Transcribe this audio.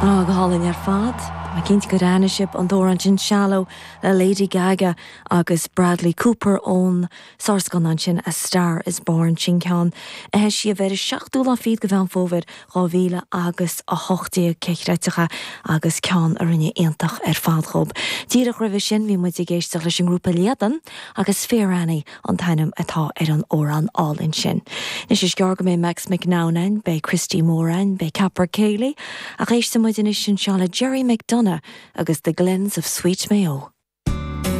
Á, go hálainn ar fad. Tá mé cinnte gur aithin sibh an t-amhrán sin Shallow le Lady Gaga agus Bradley Cooper ón sárscannán sin A Star Is Born. Sin ceann a heisíodh ar an seachtú lá fichead de Mheán Fómhair 2000 agus 18, cé chreidfeadh é, agus ceann a rinne iontach ar fad dhób. Díreach roimhe sin bhí muid ag éisteacht leis an ngrúpa Líadan agus Fair Annie an t-ainm atá ar an amhrán álainn sin. Anois is gearr go mbeidh Max McNown ann, beidh Christy Moore ann, beidh Caper Céilí, ach éistfidh muid anois anseo le Gerry McDonagh agus The Glens of Sweet Mayo.